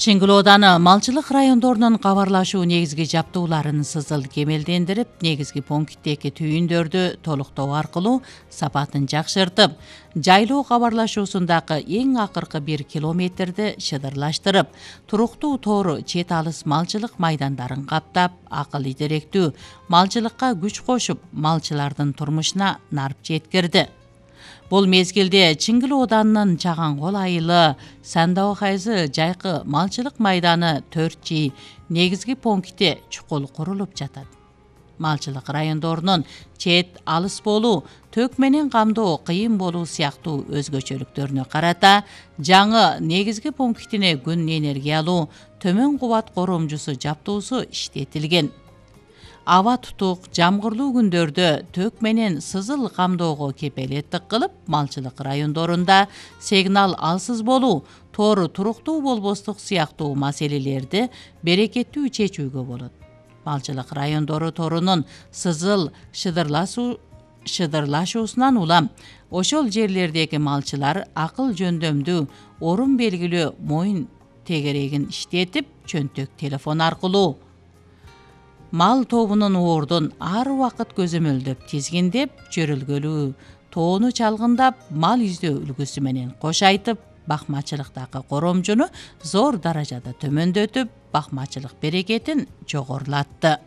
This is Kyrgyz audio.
Чыңгыл ооданы малчылык райондорунун кабарлашуу негизги жаптууларын сызыл кемелдендирип, негизги пункттеги түйүндөрдү толуктоо аркылуу сапатын жакшыртып, жайлоо кабарлашуусундагы эң акыркы 1 километрди шыдырлаштырып, туруктуу тоор чет алыс малчылык майдандарын каптап, акыл идеректүү малчылыкка күч кошуп, малчылардын турмушуна нарп жеткирди. Бул мезгилде Чыңгыл ооданынын Чагангол айылы, Сандабакайзы жайкы малчылык майданы 4G негизги пункти чукул курулуп жатат. Малчылык райондорунун чет алыс болуу, төк менен камдоо кыйын болуу сыяктуу өзгөчөлүктөрүнө карата жаңы негизги пунктине күн энергиялуу төмөн кубат коромчусу жаптуусу иштетилген. Аба тутук, жамгырлуу күндөрдө төк менен сызыл камдоого кепелеттик кылып, малчылык райондорунда сигнал алсыз болуу, тоору туруктуу болбостук сыяктуу маселелерди берекеттүү чечүүгө болот. Малчылык райондору тоорунун сызыл шыдырлашуусунан улам ошол жерлердеги малчылар акыл жөндөмдүү, орун белгилүү моюн тегерегин иштетип, чөнтөк телефон аркылуу мал тобунун уурдун ар убакыт көзөмөлдөп, тизгиндеп, жөрөлгөлүү тоону чалгындап, мал издөө үлгүсү менен кош айтып, бакмачылыктагы коромчуну зор даражада төмөндөтүп, бакмачылык берекетин жогорулатты.